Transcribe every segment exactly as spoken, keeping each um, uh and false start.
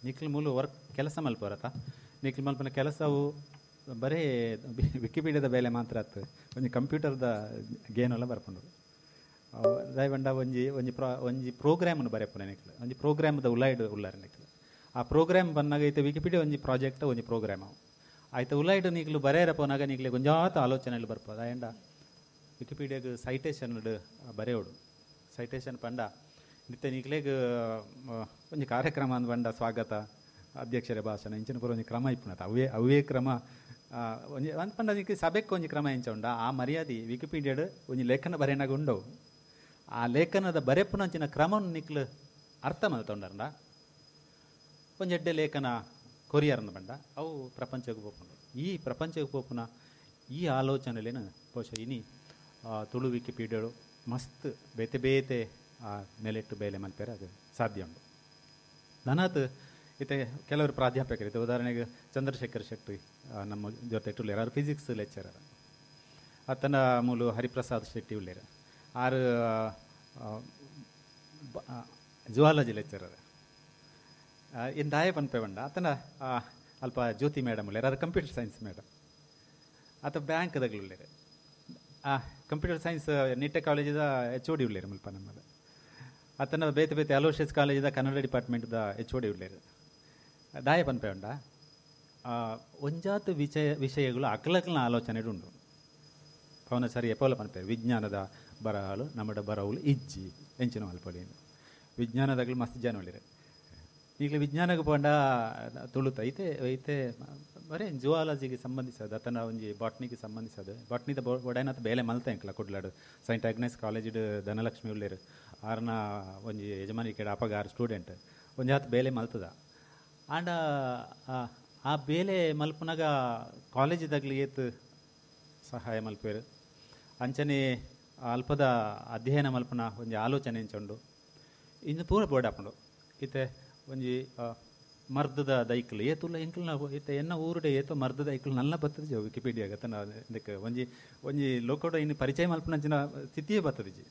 ನಿಕ್ಲು ಮೂಲು ವರ್ಕ್ ಕೆಲಸ ಮಲ್ಪರತ ನಿಕ್ಲು ಮಲ್ಪನ ಕೆಲಸವು ಬರೇ ವಿಕಿಪೀಡಿಯಾದ ಬೇಲೆ ಮಾತ್ರ ಆತು ಒಂಜಿ ಕಂಪ್ಯೂಟರ್ದ ಗೇನೆಲ್ಲ ಬರ್ಪುಂಡು. ದಯವಂಡ ಒಂಜಿ ಒಂಜಿ ಪ್ರಾ ಒಂಜಿ ಪ್ರೋಗ್ರಾಮನ್ನು ಬರೆಪುನೆ ನಿಕ್ಲು ಒಂಜಿ ಪ್ರೋಗ್ರಾಮ್ದ ಉಲಾಯ್ಡ್ ಉಲ್ಲಾರ ನಿಕ್ಲು. ಆ ಪ್ರೋಗ್ರಾಮ್ ಬಂದಾಗ ಐತೆ ವಿಕಿಪೀಡಿಯಾ ಒಂಜಿ ಪ್ರಾಜೆಕ್ಟ್ ಒಂಜಿ ಪ್ರೋಗ್ರಾಮ್ ಅವು ಆಯ್ತು ಉಲಾಯ್ಡ್ ನಿಕ್ಲು ಬರೆಯರ ಪೋನಾಗ ನಿಕ್ಲೆ ಒಂಜಾತ ಆಲೋಚನೆಯಲ್ಲಿ ಬರ್ಪೋದು. ಆಯಂಡ ವಿಕಿಪೀಡಿಯಾಗ ಸೈಟೇಷನ್ ಬರೆಯೋಡು ಸೈಟೇಷನ್ ಪಂಡ ನಿತ್ಯ ನಿಕ್ಲೆಗ್ ಒಂಜಿ ಕಾರ್ಯಕ್ರಮ ಅಂದ್ ಬಂಡ ಸ್ವಾಗತ ಅಧ್ಯಕ್ಷರ ಭಾಷಣ ಇಂಚಿನ ಪೂರ ಒಂಜಿ ಕ್ರಮ ಇಪ್ಪುನತ ಅವೇ ಅವೇ ಕ್ರಮ ಒಂಜಿ ಅಂದ್ ಪಂಡ ನಿಕ್ ಸಭೆಕ್ ಒಂಜಿ ಕ್ರಮ ಎಂಚ ಉಂಡ ಆ ಮರ್ಯಾದೆ ವಿಕಿಪೀಡಿಯಾಡ್ ಒಂಜಿ ಲೇಖನ ಬರೆನಾಗ ಉಂಡವು. ಆ ಲೇಖನದ ಬರೆಪುನಂಚಿನ ಕ್ರಮವನ್ನು ನಿಕ್ಲು ಅರ್ಥ ಮಲ್ತೊಂಡರ್ಂಡ ಒಂಜಿ ಎಡ್ಡೆ ಲೇಖನ ಕೊರಿಯರ್ನ ಬಂಡ ಅವು ಪ್ರಪಂಚಕ್ಕೆ ಪೋಪುಂಡು. ಈ ಪ್ರಪಂಚಕ್ಕೆ ಪೋಪುನ ಈ ಆಲೋಚನೆಲೇನು ಬಹುಶಃ ಇನಿ ತುಳು ವಿಕಿಪೀಡಿಯಾಡು ಮಸ್ತ್ ಬೇತೆ ಬೇತೆ ಆ ನೆಲೆಟ್ಟು ಬೇಲೆ ಮಲ್ಪೆರೆ ಅದು ಸಾಧ್ಯ ಉಂಟು. ನನಾತ್ ಇತ್ತೆ ಕೆಲವರು ಪ್ರಾಧ್ಯಾಪಕರು ಇತ್ತೆ ಉದಾಹರಣೆಗೆ ಚಂದ್ರಶೇಖರ್ ಶೆಟ್ಟಿ ನಮ್ಮ ಜೊತೆ ಉಳ್ಳೇರು, ಆರು ಫಿಸಿಕ್ಸ್ ಲೆಕ್ಚರರ್. ಆತನ ಮೂಲು ಹರಿಪ್ರಸಾದ್ ಶೆಟ್ಟಿ ಉಳ್ಳೇರು, ಆರು ಜುವಾಲಜಿ ಲೆಕ್ಚರರ್. ಇನ್ನು ದಾಯ ಪನ್ಪೆ ಬಂಡ ಆತನ ಅಲ್ಪ ಜ್ಯೋತಿ ಮೇಡಮ್ ಉಳ್ಳೇರು, ಆರು ಕಂಪ್ಯೂಟರ್ ಸೈನ್ಸ್ ಮೇಡಮ್. ಆತ ಬ್ಯಾಂಕ್ದಾಗಲು ಉಳ್ಳೇರು, ಕಂಪ್ಯೂಟರ್ ಸೈನ್ಸ್ ನಿಟ್ಟೆ ಕಾಲೇಜಿದ ಎಚ್ ಓ ಡಿ ಉಳ್ಳೇರು ಮುಲ್ಪ ನಮ್ಮದು. ಆತನ ಬೇತೆ ಬೇತೆ ಅಲೋಷಿಯಸ್ ಕಾಲೇಜಿದ ಕನ್ನಡ ಡಿಪಾರ್ಟ್ಮೆಂಟ್ದ ಎಚ್ ಓ ಡಿ ಉಳ್ಳೇರು. ದಾಯ ಪನ್ಪೆ ಉಂಡ ಒಂಜಾತ ವಿಷಯ ವಿಷಯಗಳು ಅಕ್ಲಕ್ಲನ ಆಲೋಚನೆ ಉಂಡು. ಪವನ ಸರಿ ಎಪೋಲ ಪನ್ಪೆ ವಿಜ್ಞಾನದ ಬರಹಲು ನಮ್ಮಡ ಬರಹುಲು ಇಜ್ಜಿ ಎಂಚಿನ ಮಲ್ಪೊಲಿ ವಿಜ್ಞಾನದಾಗಲು ಮಸ್ತ್ ಜನ ಉಳ್ಳೇರು. ಈಗಲೇ ವಿಜ್ಞಾನಕ್ಕೆ ಪೋಂಡ ತುಳುತ ಐತೆ ಐತೆ ಬರೇ ಜುವಾಲಜಿಗೆ ಸಂಬಂಧಿಸೋದು ಆತನ ಒಂಜಿ ಬಾಟ್ನಿಗೆ ಸಂಬಂಧಿಸೋದು ಬಾಟ್ನಿದ ಒಡೈನತ್ ಬೇಲೆ ಮಲ್ತ ಎಂಕ್ಲ ಕುಡ್ಲಾಡು ಸೈಂಟ್ ಆಗ್ನೆಸ್ ಕಾಲೇಜಿಡ್ ಧನಲಕ್ಷ್ಮಿ ಉಳ್ಳೇರು ಆರ್ನ ಒಂಜಿ ಯಜಮಾನಿಕೆ ಅಪಗ ಆರು ಸ್ಟೂಡೆಂಟ್ ಒಂಜಿ ಆತ ಬೇಲೆ ಮಲ್ತದ. ಆಂಡ ಆ ಬೇಲೆ ಮಲ್ಪನಾಗ ಕಾಲೇಜಿದಾಗಲಿ ಏತ್ ಸಹಾಯ ಮಲ್ಪೇರು ಅಂಚನೆ ಅಲ್ಪದ ಅಧ್ಯಯನ ಮಲ್ಪನ ಒಂಜಿ ಆಲೋಚನೆ ಎಂಚುಂಡು ಇನ್ನು ಪೂರ ಬೋರ್ಡ್ ಹಾಕೊಂಡು ಇತ್ತೆ ಒಂಜಿ ಮರ್ದದ ದೈಕ್ಲು ಏತುಲ್ಲ ಎಂಕ್ಲು ನಾವು ಇತ್ತೆ ಎನ್ನ ಊರುಡೆ ಏತೋ ಮರ್ದದ ಐಕ್ಲು ನಲ್ಲ ಬರ್ತದೆ ವಿಕಿಪೀಡಿಯಾಗ ತನ್ನ ಇದಕ್ಕೆ ಒಂಜಿ ಒಂಜಿ ಲೋಕೋಡ ಇನ್ನು ಪರಿಚಯ ಮಲ್ಪನಂಚಿನ ಸ್ಥಿತಿಯೇ ಬರ್ತದಿಜಿ.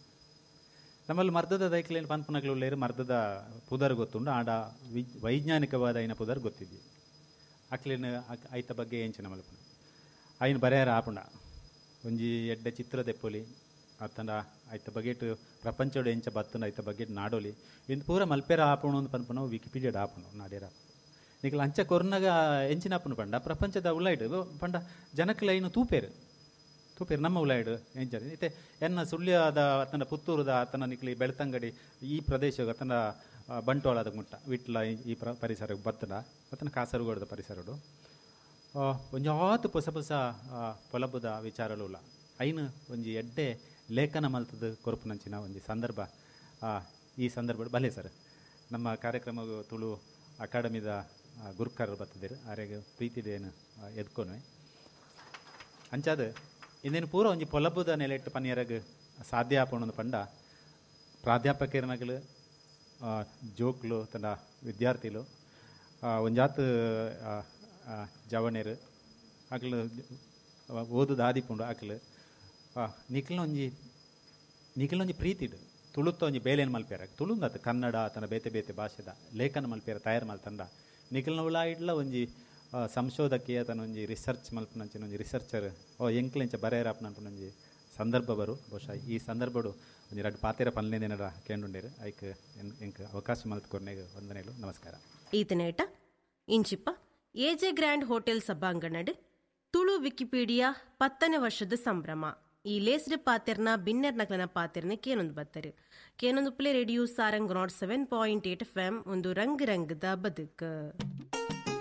ನಮ್ಮಲ್ಲಿ ಮರ್ದದ ದೈಕ್ಲೇನು ಪನ್ಪನಗಳು ಉಳ್ಳೇರು ಮರ್ದದ ಪುದರ್ ಗೊತ್ತುಂಡು ಆಡ ವಿ ವೈಜ್ಞಾನಿಕವಾದ ಐನ ಪುದರ್ ಗೊತ್ತಿದ್ವಿ ಅಕ್ಲೇನು ಐತ ಬಗ್ಗೆ ಎಂಚಿನ ಮಲ್ಪನ ಐನ ಬರೆಯಾರ ಆಪುಂಡ ಒಂಜಿ ಎಡ್ಡೆ ಚಿತ್ರ ದೆಪ್ಪೊಲಿ ಅತ್ತಂಡ ಐತ ಬಗೆಟ್ ಪ್ರಪಂಚೋಡು ಎಂಚ ಬತ್ತುಂಡ ಐತ ಬಗೆಟ್ ನಾಡೋಲಿ ಇಂದು ಪೂರ ಮಲ್ಪೇರ ಆಪುಣು ಅಂತ ಪನ್ಪುನ ವಿಕಿಪೀಡಿಯಾಡ್ ಆಪುಣು ನಾಡೇರ ನಿಕ್ಲ ಅಂಚ ಕೊರ್ನಾಗ ಎಂಚಿನ ಆಪುಣು ಪಂಡ ಪ್ರಪಂಚದ ಉಳ್ಳಾಯ್ಡು ಪಂಡ ಜನಕ್ಲ ಐನು ತೂಪೇರು ತೂಪೇರು ನಮ್ಮ ಉಳ್ಳಾಯ್ಡು ಎಂಚ ಇತ್ತೆ ಎನ್ನ ಸುಳ್ಯದ ಅತನ ಪುತ್ತೂರುದ ಆತನ ನಿಕ್ಲಿ ಬೆಳ್ತಂಗಡಿ ಈ ಪ್ರದೇಶ ಅತನ ಬಂಟ್ವಾಳದ ಮುಟ್ಟ ವಿಟ್ಲ ಈ ಪ್ರ ಪರಿಸರ ಬತ್ತಡ ಅತನ ಕಾಸರಗೋಡದ ಪರಿಸರಡು ಒಂಜಾತು ಪೊಸ ಪೊಸ ಪೊಲಬುದ ವಿಚಾರಲು ಉಲ್ಲ ಐನು ಒಂಜಿ ಎಡ್ಡೆ ಲೇಖನ ಮಲ್ತದ ಕೊರಪುನಂಚಿನ ಒಂಜಿ ಸಂದರ್ಭ ಈ ಸಂದರ್ಭ ಬಲೆ ಸರ್ ನಮ್ಮ ಕಾರ್ಯಕ್ರಮ ತುಳು ಅಕಾಡೆಮಿದ ಗುರುಕಾರರು ಬರ್ತದಿರು ಆರೆಗೆ ಪ್ರೀತಿದೇನು ಎದ್ಕೊನು ಅಂಚಾದ ಇಂದೇನು ಪೂರ ಒಂಜಿ ಪೊಲಬುದ ನೆಲೆಟ್ಟು ಪನಿಯರಗ್ ಸಾಧ್ಯ ಆಪಣೊಂದು ಪಂಡ ಪ್ರಾಧ್ಯಾಪಕರನಗಲು ಜೋಕ್ಲು ತನ್ನ ವಿದ್ಯಾರ್ಥಿಲು ಒಂಜಾತ್ ಜವಣೇರು ಅಕ್ಲು ಓದು ದಾದಿಪುಂಡು ಅಕ್ಲು ನಿಕ್ಲನ ಒಂಜಿ ನಿಕ್ಲನ ಒಂಜಿ ಪ್ರೀತಿಡು ತುಳುತ್ತ ಒಂಜಿ ಬೇಲೆನ್ ಮಲ್ಪೇರ ತುಳುಂದತ್ ಕನ್ನಡ ತನ್ನ ಬೇತೆ ಬೇತೆ ಭಾಷೆದ ಲೇಖನ ಮಲ್ಪೇರ ತಯಾರು ಮಲ್ತಂಡ ನಿಕ್ಲನ ಉಳಾಯಿಡ್ಲ ಒಂಜಿ ಸಂಶೋಧಕಿಯ ತನ್ನ ಒಂಜಿ ರಿಸರ್ಚ್ ಮಲ್ಪನಂಚಿನ ಒಂಜಿ ರಿಸರ್ಚರ್ ಓ ಎಂಕ್ಲೆಂಚ ಬರೆಯರಪ್ಪನಂಪನ ಒಂಜಿ ಸಂದರ್ಭ ಬರು ಬಹುಶಃ ಈ ಸಂದರ್ಭಡು ಒಂಜಿ ರಡ್ಡು ಪಾತೆರ ಪನ್ಲೇನೇನರ ಕೇಂಡುಂಡೇರು ಐಕ್ ಎಂಕ್ ಅವಕಾಶ ಮಲ್ತ್ಕೊರ್ನೆಗ್ ವಂದನೆಗಳು ನಮಸ್ಕಾರ. ಈತನೇಟ ಇಂಚಿಪ್ಪ ಎಜೆ ಗ್ರ್ಯಾಂಡ್ ಹೋಟೆಲ್ ಸಭಾಂಗಣಡ್ ತುಳು ವಿಕಿಪೀಡಿಯಾ ಪತ್ತನೇ ವರ್ಷದ ಸಂಭ್ರಮ ಈ ಲೇಸ್ಡ್ ಪಾತೆರ್ನ ಬಿನ್ನೆರ್ ನಕಲನ ಪಾತೆರ್ನ ಕೇನೊಂದು ಬತ್ತರು ಕೇನೊಂದು play radio Sarang nought seven point eight F M ಒಂದು ರಂಗ್ ರಂಗದ ಬದುಕು.